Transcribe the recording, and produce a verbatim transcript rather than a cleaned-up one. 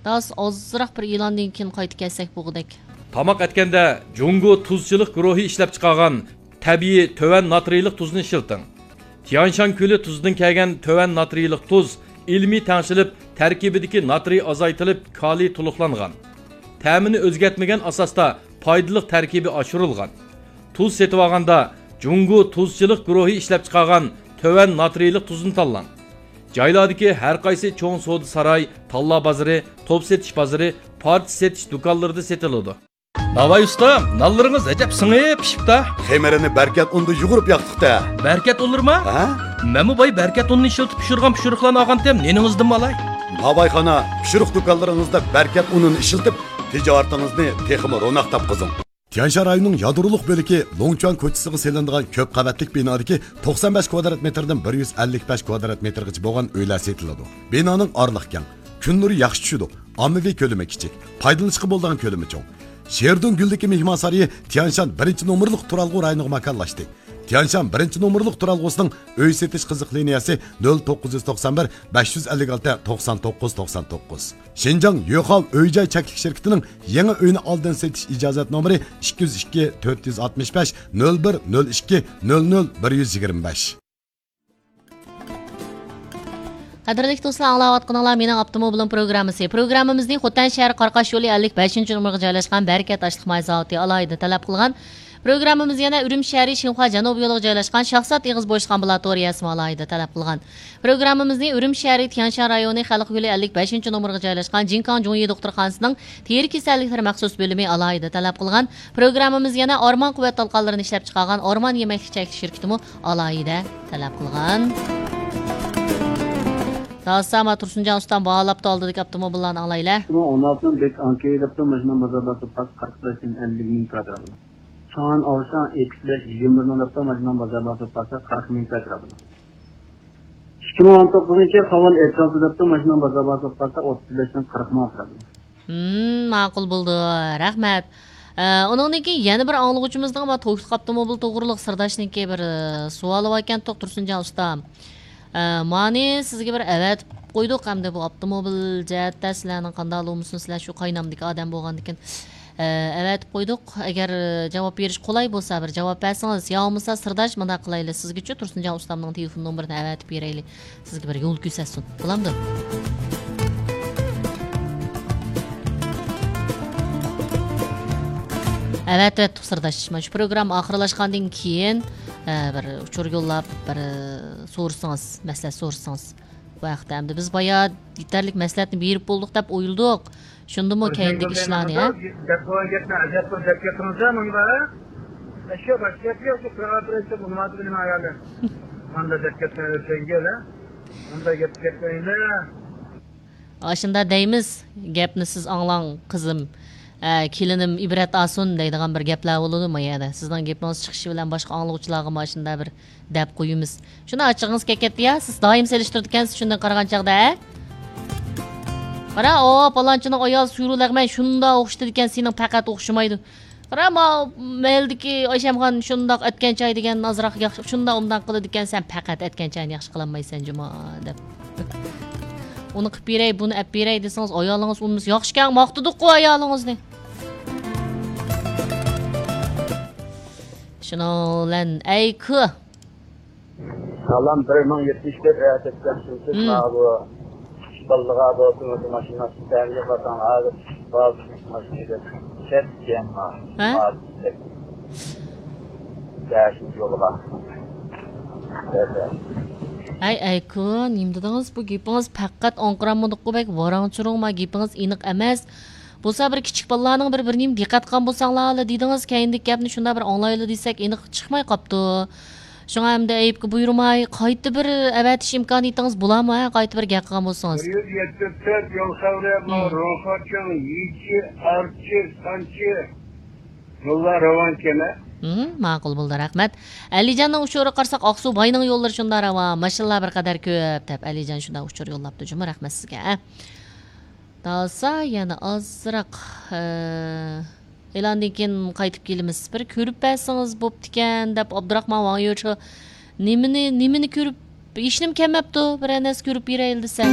داس ئازراق بىر ئېلاندىن كېيىن قايتا كەلسەك بولغۇدەك. تاماق ئەتكەندە جۇڭگو تۇزچىلىق گۇرۇھى ئىشلەپچىقارغان تەبىئىي تۆۋەن ناترىيلىق تۇزنى ئىشلىتىڭ. تيانشان كۆلى تۇزىدىن كەلگەن تۆۋەن ناترىيلىق تۇز ئىلمىي تەڭشىلىپ، تەركىبىدىكى ناترىي ئازايتىلىپ، كالىي تولۇقلانغان. تەمىنى ئۆزگەرتمىگەن ئاساستا پايدىلىق تەركىبى ئاشۇرۇلغان. تۇز سېتىۋالغاندا جۇڭگو تۇزچىلىق گۇرۇھى ئىشلەپچىقارغان تۆۋەن ناترىيلىق تۇزنى تاللاڭ. جايلاردىكى ھەر قايسى چوڭ سودا ساراي، تاللا بازىرى، توپ سېتىش بازىرى، پارچە سېتىش دۇكانلىرىدا سېتىلىدۇ. ناۋاي ئۇستام، نانلىرىڭىز ئەجەب سىڭىپ پىشىپتا. خېمىرىنى بەركەت ئۇندا يۇغۇرۇپ ياقتۇق-تە. بەركەت ئۇنلىرىما؟ ھە؟ مەنمۇ باي بەركەت ئۇنىنى ئىشلىتىپ پىشۇرغان پىشۇرۇقلارنى ئالغانتىم، نېنىڭىزدىنمۇ ئالاي. ناۋايخانا، پىشۇرۇق دۇكانلىرىڭىزدا بەركەت ئۇنىنى ئىشلىتىپ، تىجارىتىڭىزنى تېخىمۇ روناق تاپقۇزۇڭ. تيەنشان رايونىنىڭ يادرولۇق بۆلىكى لوڭچۈەن كوچىسىغا سېلىنىدىغان كۆپ قەۋەتلىك بىنادىكى توقسان بەش كۋادرات مېتىردىن بىر يۈز ئەللىك بەش كۋادرات مېتىرغىچە بولغان ئۆيلەر سېتىلىدۇ. بىنانىڭ ئارىلىقى كەڭ، كۈن نۇرى ياخشى چۈشىدۇ، ئاممىۋى كۆلىمى كىچىك، پايدىلىنىشقا بولىدىغان كۆلىمى چوڭ. شېردۇڭ گۈلدىكى مېھمانسارىيى تيەنشان بىرىنچى نومۇرلۇق تۇرالغۇ رايونىغا ماكانلاشتى. تيەنشان بىرىنچى نومۇرلۇق تۇرالغۇسىنىڭ ئۆي سېتىش قىزىق لىنىيەسى نۆل توققۇز يۈز توقسان بىر، بەش يۈز ئەللىك ئالتە، توقسان توققۇز، توقسان توققۇز. شىنجاڭ يۆخاۋ ئۆي جاي چەكلىك شىركىتىنىڭ يېڭى ئۆينى ئالدىن سېتىش ئىجازەت نومۇرى ئىككى يۈز ئىككى، تۆت يۈز ئاتمىش بەش، نۆل بىر، نۆل ئىككى، نۆل نۆل، بىر يۈز يىگىرمە بەش. قەدىرلىك دوستلار، ئاڭلاۋاتقىنىڭلار مېنىڭ ئاپتوموبىلىم پروگراممىسى. پروگراممىمىزنى خوتەن شەھىرى قاراقاش يولى ئەللىك بەشىنچى نومۇرغا جايلاشقان بەرىكەت ئاشلىق ماي زاۋۇتى ئالاھىدە تەلەپ قىلغان. پروگراممىمىز يەنە ئۈرۈمچى شەھىرى شىنخۇا جەنۇبىي يولىغا جايلاشقان شاھزات ئېغىز بوشلۇق ئامبۇلاتورىيەسىمۇ ئالاھىدە تەلەپ قىلغان. پروگراممىمىزنى ئۈرۈمچى شەھىرى تيەنشان رايونى خەلق يولى ئەللىك بەشىنچى نومۇرغا جايلاشقان جىنكاڭ جۇڭيى دوختۇرخانىسىنىڭ تېرە كېسەللىكلىرى مەخسۇس بۆلۈمى ئالاھىدە تەلەپ قىلغان. پروگراممىمىز يەنە ئارمان قۇۋۋەت تالقانلىرىنى ئىشلەپچىقارغان ئارمان يېمەكلىك چەكلىك شىركىتىمۇ ئالاھىدە تەلەپ قىلغان. داسا، ما تۇرسۇنجان ئۇستام باھالاپتۇ، ئالدىدىكى ئاپتوموبىللارنى ئاڭلايلى. ئىككى مىڭ ئون ئالتىنىڭ بەك ئانكېي دەپتۇ، ماشىنا بازار باسىپ قالسا قىرىق بەشتىن ئەللىك مىڭ ئەتراپىدا. شاڭئەن ئاۋشاڭ ئېكس بەش يىگىرمە بىرنىڭ دەپتۇ، ماشىنا بازار باسىپ قالسا قىرىق مىڭ ئەتراپىدا. ئىككى مىڭ ئون توققۇزىنچى يىل خاۋال ئېتىرازى دەپتۇ، ماشىنا بازار باسىپ قالسا ئوتتۇز بەشتىن قىرىق مىڭ ئەتراپىدا. ھىم، ماقۇل بولدى. رەھمەت. ئە، ئۇنىڭدىن كېيىن يەنە بىر ئاڭلىغۇچىمىزنىڭ بار توكلۇق ئاپتوموبىل توغرۇلۇق سىرداشنىڭكى بىر، ئە، سوئالى باركەنتۇق، تۇرسۇنجان ئۇستام. ئە، مانى سىزگە بىر ئەۋەتىپ قويدۇق، ئەمدى بۇ ئاپتوموبىل جەھەتتە سىلەرنىڭ قانداق بولمىسۇن، سىلەر شۇ قاينامدىكى ئادەم بولغاندىكىن، ئە، ئەۋەتىپ قويدۇق. ئەگەر، ئە، جاۋاب بېرىش قولاي بولسا، بىر جاۋاب بەرسىڭىز، يا بولمىسا سىرداش مۇنداق قىلايلى، سىزگىچۇ تۇرسۇنجان ئۇستامنىڭ تېلېفون نومۇرىنى ئەۋەتىپ بېرەيلى. سىزگە بىر يول كۆرسەتسۇن. بولامدۇ؟ ئەۋەتىۋەتتۇق سىرداش. مانا شۇ پروگرامما ئاخىرلاشقاندىن كېيىن، ئە، بىر ئۇچۇر يوللاپ، بىر، ئە، سورىسىڭىز، مەسلىھەت سورىسىڭىز. بۇ ھەقتە ئەمدى بىز بايا يېتەرلىك مەسلىھەتنى بېرىپ بولدۇق دەپ ئويلىدۇق. شۇندىمۇ كەينىدىكى ئىشلارنى، ھە؟ دەپ بولغان گەپنى ئەجەب بىر دەپ كەتتىڭىز-ھە، مۇنبەر. ئەشيا باشقا گەپ يوق، شۇ قىرغا بىرىنچى مۇناسىۋىتى نېمە ئايالى؟ ماندا دەپ كەتمەيلى، چەنگەل، ھە؟ مۇنداق گەپ كەتمەيلى. ئاشۇندا دەيمىز، گەپنى سىز ئاڭلاڭ، قىزىم. ئە، كېلىنىم ئىبرەت ئالسۇن دەيدىغان بىر گەپلەر بولىدۇ ما يەردە. سىزنىڭ گېپىڭىز چىقىشى بىلەن باشقا ئاڭلىغۇچىلارغىمۇ ئاشۇنداق بىر دەپ قويىمىز. شۇنداق ئاچچىقىڭىز كەپ كەتتى يا، سىز دائىم سېلىشتۇرىدىكەنسىز شۇنداق قارىغان چاغدا، ھە؟ قارا، ئو، پالانچىنىڭ ئايالى سۈرۈ لەغمەن شۇنداق ئوخشىتىدىكەن، سېنىڭ پەقەت ئوخشىمايدۇ. قارا، ما مەھەللىدىكى ئايشەمخان شۇنداق ئەتكەن چاي دېگەن ئازراق ياخشى، شۇنداق ئۇنداق قىلىدىكەن، سەن پەقەت ئەتكەن چاينى ياخشى قىلالمايسەن جۇما، دەپ. ئۇنى قىلىپ بېرەي، بۇنى ئەپ بېرەي دېسىڭىز، ئايالىڭىز ئۇنىمىسا، ياخشىكەن، ماختىدۇققۇ ئايالىڭىزنى. شۇنىڭ بىلەن ئەيكۇ. سالام، بىر مىڭ يەتمىش تۆت ئەتەتكەن سىز مم. ماۋۇ بالىلىغا بولسۇن، ماشىنا سىستەمىگە باساڭ، ھازىر ماشىنىگە چەتكەن. ھە؟ بەشىنچى يولغا. ھەي، ئەيكۇ، نېمە دېدىڭىز؟ بۇ گېپىڭىز پەقەت ئاڭقىرالمىدۇققۇ، بەك ۋاراڭ-چۇرۇڭ، ما گېپىڭىز ئېنىق ئەمەس. بولسا بىر كىچىك بالىلارنىڭ بىر، بىر نېمە دىققەت قىلغان بولساڭلارلا دېدىڭىز، كەينىدىكى گەپنى شۇنداق بىر ئاڭلايلى دېسەك، ئېنىق چىقماي قاپتۇ. شۇڭا ئەمدى ئەيىبكە بۇيرۇماي، قايتا بىر ئەۋەتىش ئىمكانىيىتىڭىز بولارمۇ، ھە؟ قايتا بىر گەپ قىلغان بولسىڭىز. بىر يۈز يەتمىش تۆت يول خەۋىرى، مم. روخاچىڭ، يىچى، ئارچى، سانچى يوللار راۋانكەن، ھە؟ مم، ماقۇل بولدى، رەھمەت. ئەلىجاننىڭ ئۇچۇرىغا قارىساق، ئاقسۇ باينىڭ يوللىرى شۇنداق راۋان، ماشىنىلار بىر قەدەر كۆپ، دەپ ئەلىجان شۇنداق ئۇچۇر يوللاپتۇ جۇمۇ، رەھمەت سىزگە، ھە؟ داسا يەنە ئازراق، ئە، ئېلاندىن كېيىن قايتىپ كېلىمىز. بىر كۆرۈپ بەرسىڭىز بوپتىكەن، دەپ ئابدۇراخمان ۋاڭيۆچى نېمىنى، نېمىنى كۆرۈپ، ھېچنېمە كەلمەپتۇ، بىرەر نەرسە كۆرۈپ بېرەيلى دېسە.